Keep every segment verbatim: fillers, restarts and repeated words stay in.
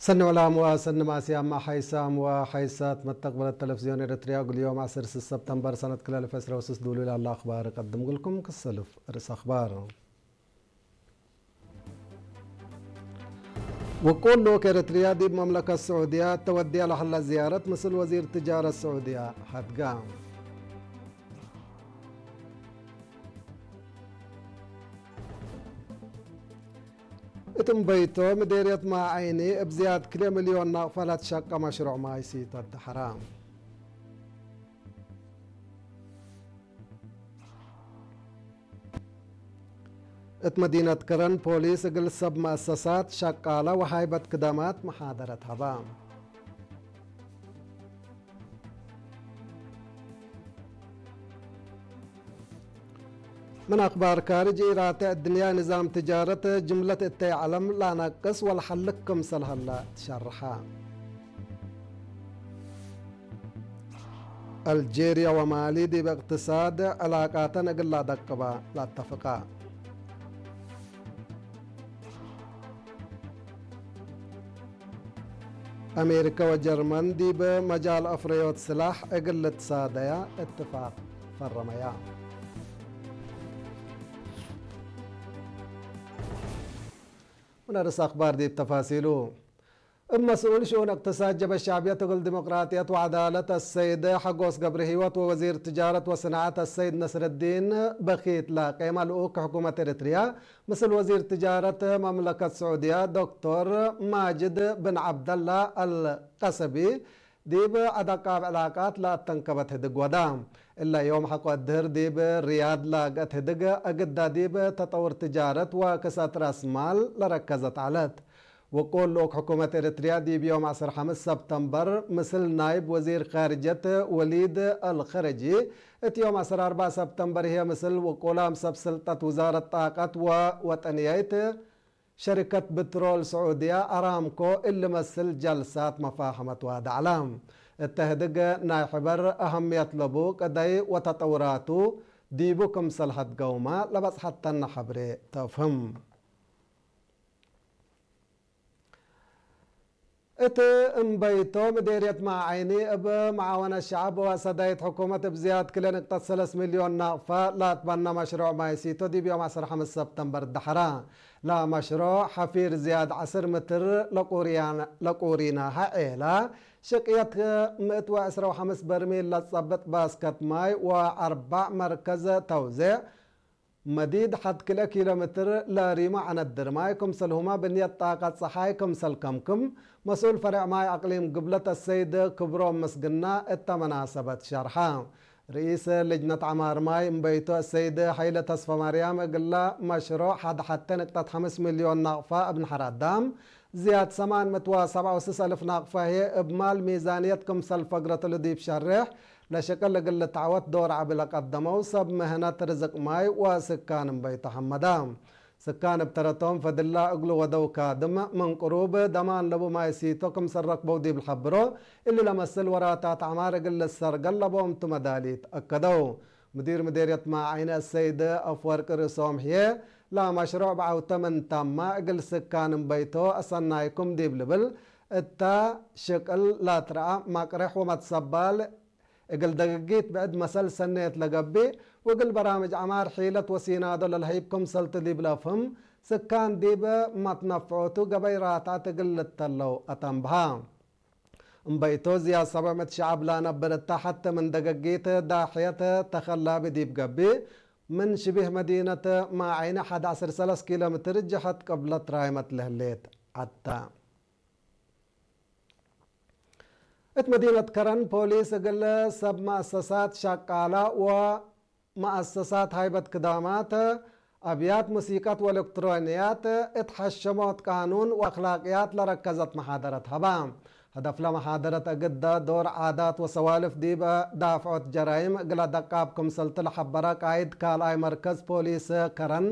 ሰኒ ዕላም ወሰኒ ማስያም፣ ሐይሳም ወሐይሳት መተቅበለት ተለፍዝዮን ኤረትርያ፣ እግል ዮም ዐስር ሰብተምበር ሰነት ክልኤ አልፍ ዕስራ ወስስ ዱሉይ ላለ አኽባር እቀድም እግልኩም። ክሰልፍ ርእስ አኽባር። ውቁል ልኡክ ኤረትርያ ዲብ መምለከት ስዑድያ እተ ወድያ ለሀላ ዝያረት ምስል ወዚር ትጃረት ስዑድያ ሀድጋ። እት እምበይቶ ምዴርየት ማዐይኒ እብ ዝያድ ክልኤ ሚልዮን ናቅፋ ለትሸቀ መሽሩዕ ማይ ሲቶ ደሐራ። እት መዲነት ከረን ፖሊስ እግል ሰብ መአሰሳት፣ ሸቃለ ወሃይበት ክደማት መሓደረት ሀባ። ምን አክባር ካርጅ፣ ኢራተ እድንያ ንዛም ትጃረት ጅምለት እተይ ዐለም ለአነቅስ ወለሐልክ ክምሰል ሀለ ትሸርሐ። አልጄርያ ወማሊ ዲብ እቅትሳድ ዕላቃተን እግል ለአደቅባ ለአተፍቃ። አሜሪከ ወጀርመን ዲብ መጃል አፍረዮት ስላሕ እግል ልትሳደያ እትፋቅ ፈረመያ። ምን አርእስ አክባር ዲብ ተፋሲሉ። እብ መስኡል ሽኡን እቅትሳድ ጀብሀት ሸዕብየት እግል ዲሞቅራጥየት ወዐዳለት አሰይድ ሐጎስ ገብረሂወት ወወዚር ትጃረት ወስናዐት አሰይድ ነስረዲን በኪት ለቄመ ልኡክ ሕኩመት ኤረትርያ ምስል ወዚር ትጃረት መምለከት ስዑድያ ዶክቶር ማጅድ ብን ዐብደላ አልቀሰቢ ዲብ አደቃብ ዕላቃት ለአተንከበት ህድግ ወዳ። እለ ዮም ሐቆ እድህር ዲብ ርያድ ላግአት ህድግ አግዳ ዲብ ተጠውር ትጃረት ወክሰት ረአስ ማል ለረከዘት ዐለት። ውቁል ልኡክ ሕኩመት ኤረትርያ ዲብ ዮም ዐስር ሐምስ ሰብተምበር ምስል ናይብ ወዚር ካርጀት ወሊድ አልኸረጂ፣ እት ዮም ዐስር አርበዕ ሰብተምበር ህዬ ምስል ውቁላም ሰብ ስልጠት ውዛረት ጣቀት ወወጠንያይት ሸሪከት ብትሮል ስዑድያ አራምኮ እሊ መስል ጀልሳት መፋሀመት ዋድዐ ዐለ። እተ ህድግ ናይ ሕበር አሀምየት ለቡ ቅደይ ወተጠውራቱ ዲቡ ክምሰል ሀድገውመ ለበጽሐተነ ሐብሬ ተፍህም። እት እምበይቶ ምዴርየት ማዐይኒ እብ መዓወነት ሸዐብ ወሰዳይት ሕኩመት እብ ዝያድ ክልኤ ንቅጠት ሰለስ ሚልዮን ናቅፋ ለአትበነ መሽሩዕ ማይ ሲቶ ዲብ ዮም ዐስር ሐምስ ሰብተምበር ደሐራ። ለመሽሩዕ ሐፊር ዝያድ ዐስር ምትር ለቁሪናሀ ዔላ ሽቅየት ምእት ወዕስራ ወሐምስ በርሚል ለጸብጥ ባስከት ማይ ወአርበዕ መርከዝ ተውዜዕ መዲድ ሐድ ክልኤ ኪሎ ምትር ለሪሞ ዐነድር ማይ ክምሰልሁመ ብንየት ጣቀት ጸሓይ ክምሰል ከምክም መስኡል ፈሬዕ ማይ አቅሊም ግብለት አሰይድ ክብሮም ምስግና እተ መናሰበት ሸርሐ። ርኢስ ልጅነት ዐማር ማይ እምበይቶ አሰይድ ሐይለ ተስፈማርያም እግለ መሽሩዕ ሐድ ሐቴ ንቅጠት ሐምስ ሚልዮን ናቅፋ እብ ነሐር አዳም ዝያድ ሰማን ምእት ወሰብዓ ወስስ አልፍ ናቅፋ ህዬ እብ ማል ሚዛንየት ክምሰል ፈግረት እሉ ዲብ ሸሬሕ ለሽቅል እግል ልትዐወት ዶር ዐቢ ለቀደመው ሰብ ምህነት ርዝቅ ማይ ወስካን እምበይቶ ሐመዳ። ስካን እብ ተረቶም ፈድላ እግሉ ወደው ካድም ምን ቅሩብ ደማን ለቡ ማይ ሲቶ ክምሰል ረክበው ዲብ ለሐብሮ፣ እሊ ለመስል ወራታት ዐማር እግል ልሰርገል ለቦም ቱ መዳሊት አከደው። ምዲር ምዴርየት ማዐይኒ አሰይድ አፍወርቅ ርእሶም ህዬ፣ ለመሽሩዕ ብዐውተ ምን ተመ እግል ስካን እምበይቶ አሰናይኩም ዲብ ልብል እተ ሽቅል ለትረአ መቅሬሕ ወመትሰባል እግል ደገጊት ብዕድ መሰል ሰኔት ለገብእ ወእግል በራምጅ ዐማር ሒለት ወሲናዶ ለልሀይብ ክምሰልቱ ዲብ ለአፍህም፣ ስካን ዲብ መትነፍዖቱ ገበይ ራትዐት እግል ልተለው አተንብሃ። እምበይቶ ዝያድ ሰብዕ ምእት ሸዐብ ለአነብር እተ ሐቴ ምን ደገጊት ዳሕየት ተኸላቢ ዲብ ገብእ፣ ምን ሽቢህ መዲነት ማዐይኒ ሐድ ዐስር ሰለስ ኪሎ ምትር ጀሀት ቅብለት ራይመት ለህሌት ዐተ። እት መዲነት ከረን ፖሊስ እግል ሰብ መአሰሳት ሸቃላ ወመአሰሳት ሃይበት ክዳማት፣ አብያት ሙሲቀት ወኤለክትሮንያት እት ሐሸሞት ቃኑን ወአክላቅያት ለረከዘት መሓደረት ሀባ። ሀደፍ ለመሓደረት እግደ ዶር ዓዳት ወሰዋልፍ ዲብ ዳፍዖት ጀራይም እግለ ደቃብ ክምሰልቱ ለሐበረ ቃይድ ካልኣይ መርከዝ ፖሊስ ከረን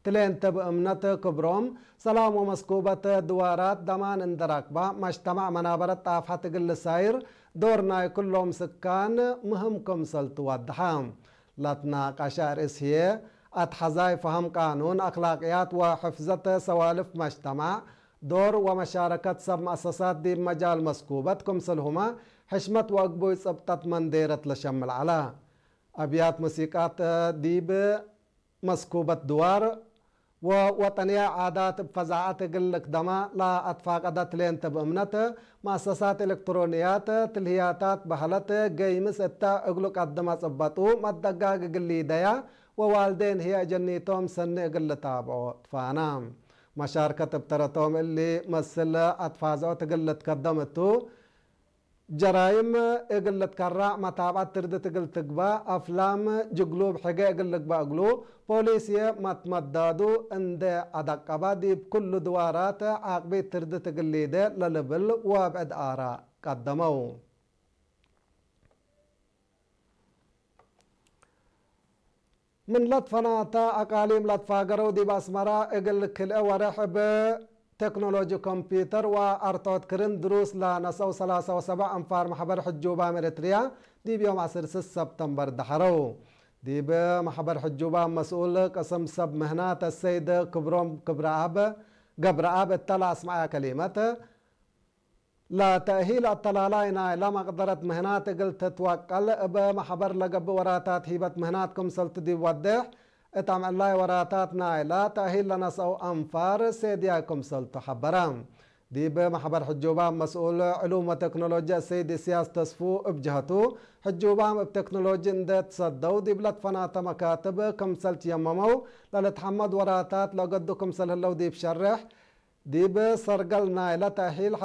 ትሌንተ ብእምነት ክብሮም፣ ሰላም ወመስኩበት ድዋራት ደማን እንደ ረክባ፣ መጅተማዕ መናበረት ጣፍሐት እግል ልሳይር ዶር ናይ ኩሎም ስካን ምህም ክምሰል ትወድሐ። ለትናቀሸ አርእስ ህዬ፣ አትሐዛይ ፈሀም ቃኑን፣ አክላቅያት ወሕፍዘት ሰዋልፍ መጅተማዕ፣ ዶር ወመሻረከት ሰብ መአሰሳት ዲብ መጃል መስኩበት ክምስልሁመ ሕሽመት ወእግቡይ ጽብጠት መንዴረት ለሸምል ዐለ። አብያት ሙሲቃት ዲብ መስኩበት ድዋር ወወጠንያይ ዓዳት እብ ፈዛዐት እግል ልክደማ ለአትፋቀደት ሌንት እብ እምነት፣ መአሰሳት ኤለክትሮንያት፣ ትልህያታት በህለት፣ ገይምስ እተ እግሉ ቀድመ ጽበጡ መደጋግ እግል ሊደያ ወዋልዴን ህዬ አጀኒቶም ሰኒ እግል ልታብዖ ትፋና። መሻርከት እብ ተረቶም እሊ መስል አትፋዝዖት እግል ልትከደም እቱ። ጀራይም እግል ልትከራዕ፣ መታብዐት ትርድት እግል ትግባእ፣ አፍላም ጅግሉብ ሕጌ እግል ልግበእ እግሉ፣ ፖሊስዬ መትመዳዱ እንዴ አደቀበ፣ ዲብ ኩሉ ድዋራት ዓቅቢት ትርድት እግል ሊዴ ለልብል ወብዕድ አራእ ቀደመው። ምን ለትፈናተ አቃሊም ለትፋገረው ዲብ አስመረ እግል ክልኤ ወሬሕ እብ ቴክኖሎጂ ኮምፒተር ወአርትዖት ክርን ድሩስ ለነሰአው ሰላሳ ወሰብዕ አንፋር መሕበር ሕጁባም ኤረትርያ ዲብ ዮም ዐስር ሰብተምበር ደሐረው። ዲብ መሕበር ሕጁባም መስኡል ቅስም ሰብ ምህናት አሰይድ ክብሮም ክብረአብ ገብረአብ እተ ለአስመዐ ከሊመት፣ ለተእሂል አተላላይ ናይለ መቅደረት ምህናት እግል ትትወቀል እብ መሕበር ለገብእ ወራታት ሂበት ምህናት ክምሰልቱ ዲብ ወዴሕ፣ እት አምዕላይ ወራታት ናይለ ተእሂል ለነስአው አንፋር ሴድያይ ክምሰልቱ ሐበረ። ዲብ መሕበር ሕጁባም መስኡል ዕሉም ወቴክኖሎጂ አሰይድ እስያስ ተስፉ እብ ጀሀቱ፣ ሕጁባም እብ ቴክኖሎጂ እንዴ ትሰደው ዲብ ለትፈናተ መካትብ ክምሰል ትየመመው ለልትሐመድ ወራታት ለገዱ ክምሰል ህለው ዲብ ሸሬሕ፣ ዲብ ሰርገል ናይለ ተእሂል